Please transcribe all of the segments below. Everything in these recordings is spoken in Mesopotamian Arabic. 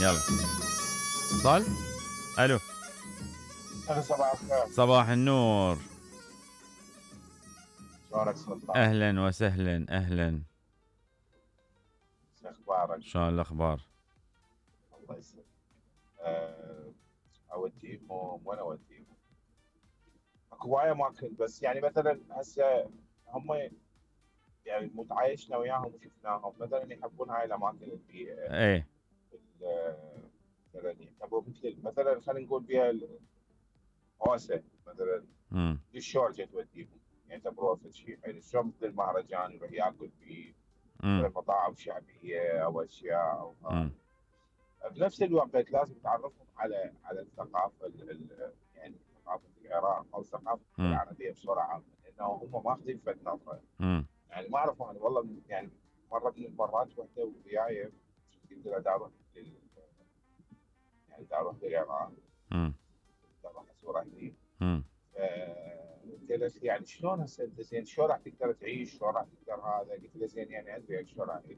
يلا اتصال. الو صباح الخير. صباح النور. شلونك سلطان؟ اهلا وسهلا اهلا. شو اخبارك؟ شلون الاخبار؟ الله يسلمك. اوديهم وين اوديهم؟ اكو هوايه اماكن، بس يعني مثلا هسه هم يعني متعايشنا وياهم وشفناهم، مثلا يحبون هاي الاماكن اللي ايه مثلا يعتبروا مثلا خلينا نقول بها الهوسه مثلا. الشورجه توديهم يعتبروها في شيء يعني شلون مثل المهرجان يروح ياكل في مثلا مطاعم شعبيه او اشياء او بنفس الوقت لازم تعرفهم على الثقافه يعني ثقافه العراق او الثقافه العربيه بصوره عامه، لانه هم ماخذين فد نظره. يعني ما اعرف انا والله يعني مره من المرات وحده وياي قلت له دا اروح يعني دا اروح للعراق، دا اروح ازور اهلي. قلت يعني شلون هسه انت زين شلون راح تقدر تعيش؟ شلون راح تقدر هذا؟ قلت له زين يعني ادري شلون راح اعيش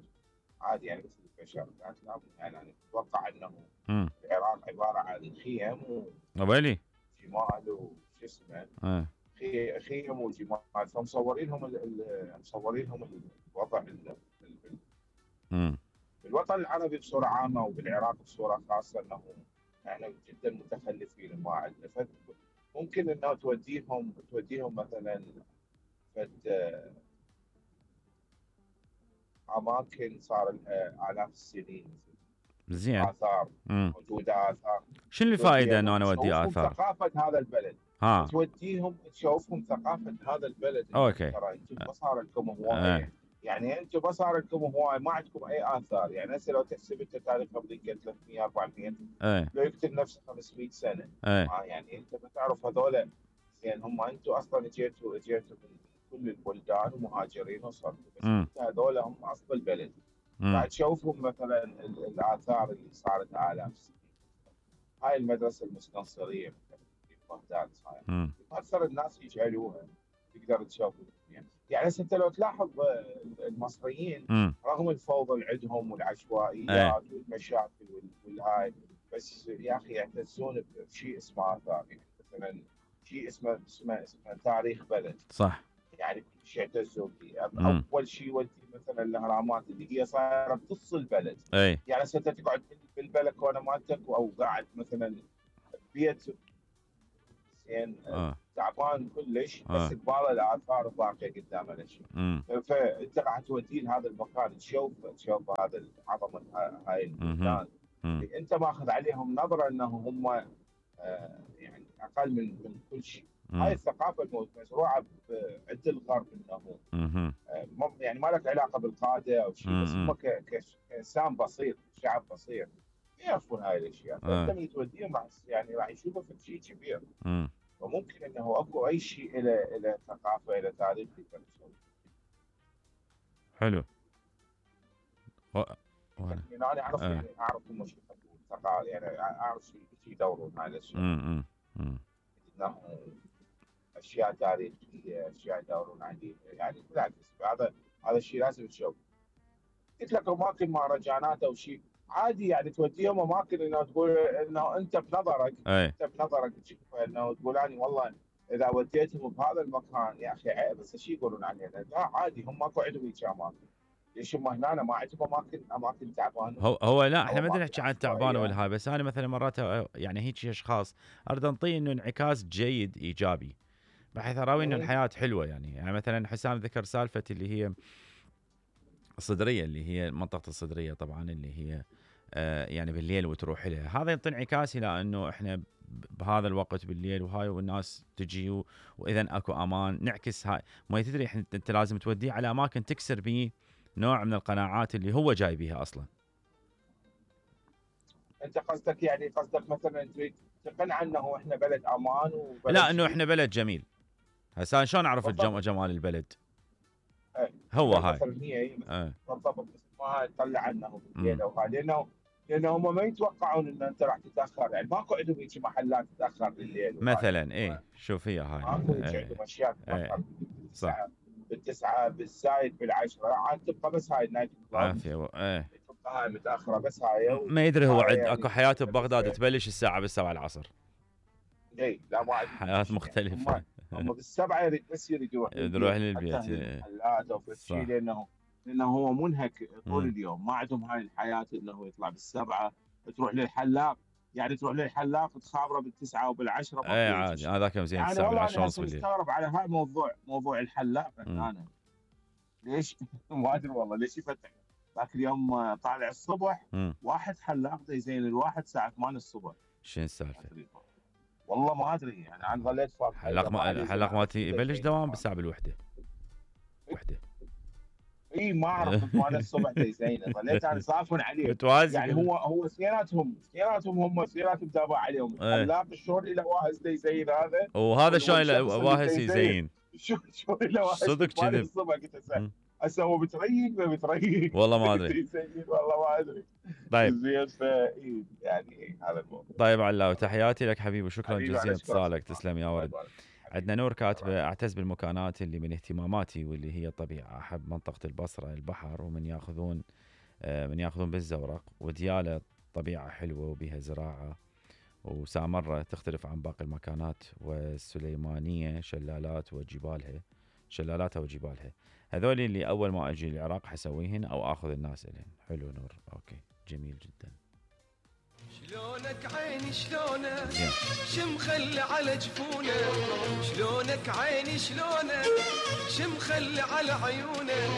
عادي يعني مثل البشر. قالت لا يعني انا اتوقع انه العراق عباره عن خيم وبالي وجمال وشو اسمه خيم وجمال، فمصورين لهم مصورين لهم الوضع بالوطن العربي بصوره عامه وبالعراق بصوره خاصه انه احنا جدا متخلفين ما عندنا. ممكن انه توديهم مثلا فد اماكن صار لها الاف السنين زين اثار موجوده اثار. شنو الفائده انه انا اودي اثار؟ ثقافه هذا البلد توديهم تشوفهم ثقافه هذا البلد. اوكي ترى انتم ما صار لكم هوايه يعني انتم ما صار لكم هوايه ما عندكم اي اثار. يعني هسه لو تحسب انت تاريخ امريكا 300 400 لو يقتل نفسه 500 سنه يعني انت بتعرف هذول يعني هم انتم اصلا اجيتوا من كل البلدان ومهاجرين وصلتوا، بس انت هذول هم اصل البلد. بعد تشوفهم مثلا الاثار اللي صارت الاف السنين. هاي المدرسه المستنصريه في بغداد صايره اكثر الناس يجهلوها. تقدر تشوف يعني هسه انت لو تلاحظ المصريين رغم الفوضى اللي عندهم والعشوائيات والمشاكل والهاي، بس يا اخي يعتزون بشيء اسمه اثار. يعني مثلا شيء اسمه تاريخ بلد صح. يعني كل شيء يعتزون فيه. اول شيء ودي مثلا الاهرامات اللي هي صايره بنص البلد. يعني هسه انت تقعد بالبلكونه مالتك او قاعد مثلا بيت زين تعبان كلش بس قباله الاثار باقيه قدام الاشياء. فانت راح توديه لهذا المكان تشوف هذا عظمه هاي البلدان. انت ماخذ عليهم نظره انه هم يعني اقل من كل شيء. هاي الثقافه مزروعه عند الغرب انه يعني ما لك علاقه بالقاده او شيء، بس هم كانسان بسيط شعب بسيط يعرفون هاي الاشياء. فانت من توديهم يعني راح يشوفوا في شيء كبير. وممكن انه اكو اي شيء الى ثقافه الى تاريخ يقدر يسوي. حلو. يعني انا اعرف يعني اعرف هم شو يحبون يعني اعرف شو يدورون هاي الاشياء. انه اشياء تاريخيه اشياء يدورون عليها يعني بالعكس هذا الشيء لازم تشوف. قلت لك اماكن مهرجانات او شيء عادي يعني توديهم اماكن انه تقول انه انت بنظرك تشوف انه تقول اني والله اذا وديتهم بهذا المكان يا اخي عيب بس شو يقولون علينا؟ لا عادي هم ماكو عندهم هيك اماكن. ليش هم هنا ما عندهم اماكن تعبانه؟ هو لا احنا ما نحكي عن تعبانه ولا هاي، بس انا مثلا مرات يعني هيك اشخاص اريد انطيه انه انعكاس جيد ايجابي بحيث اراوي انه الحياه حلوه. يعني مثلا حسام ذكر سالفه اللي هي الصدريه اللي هي منطقه الصدريه طبعا اللي هي يعني بالليل وتروح لها. هذا يعطي انعكاس الى انه احنا بهذا الوقت بالليل وهاي والناس تجي واذا اكو امان نعكس هاي. ما تدري انت لازم توديه على اماكن تكسر به نوع من القناعات اللي هو جاي بها اصلا. انت قصدك مثلا تريد تقنع انه احنا بلد امان وبلد لا انه احنا بلد جميل. هسه شلون اعرف جمال البلد؟ هو هاي بالضبط. بس ما تطلع عنه بالليل لانه هم ما يتوقعون ان انت راح تتاخر. يعني ماكو عندهم هيك محلات تتاخر بالليل مثلا. شوف هي هاي ماكو هيك عندهم اشياء تتاخر بالتسعه بالزايد بالعشره عاد تبقى بس هاي النايت كلاب. عافيه هاي متاخره بس هاي ما يدري هو يعني اكو حياه ببغداد تبلش الساعه 7 العصر. اي لا ما حياه مختلفه يعني هم بالسبعه بس يريد يروح للبيت حتى المحلات او شيء لانه هو منهك طول اليوم، ما عندهم هاي الحياه انه يطلع بالسبعه تروح للحلاق، يعني تروح للحلاق تخابره بالتسعه وبالعشره. اي عادي هذاك زين يعني الساعه والله 10 انا ونص بالليل. مستغرب على هاي موضوع الحلاق انا ليش ما ادري والله ليش يفتح ذاك اليوم طالع الصبح واحد حلاق يزين الواحد الساعه 8 الصبح. شنو السالفه؟ والله ما ادري يعني انا ظليت فاضي. حلاق مالتي يبلش دوام بالساعه بالوحده وحده. اي ما اعرف 8 الصبح يزين، ظليت انا صافن عليه متوازي يعني هو اثنيناتهم هم تابع عليهم. الحلاق شلون له واهز يزين هذا وهذا شلون له واهز يزين شلون له واهز صدق كذب الصبح. قلت هسه هو بتريق والله ما ادري والله ما ادري. طيب زين يعني هذا الموضوع. طيب علاوي تحياتي لك حبيبي وشكرا جزيلا اتصالك. تسلم يا ورد. عندنا نور كاتبه اعتز بالمكانات اللي من اهتماماتي واللي هي الطبيعه، احب منطقه البصره البحر ومن ياخذون بالزورق، ودياله طبيعه حلوه وبها زراعه وسامره تختلف عن باقي المكانات، والسليمانيه شلالاتها وجبالها. هذول اللي اول ما اجي العراق حسويهن او اخذ الناس الهن. حلو نور، اوكي جميل جدا. شلونك عيني شلونك شمخلي على جفونه، شلونك عيني شلونك شمخلي على عيونه.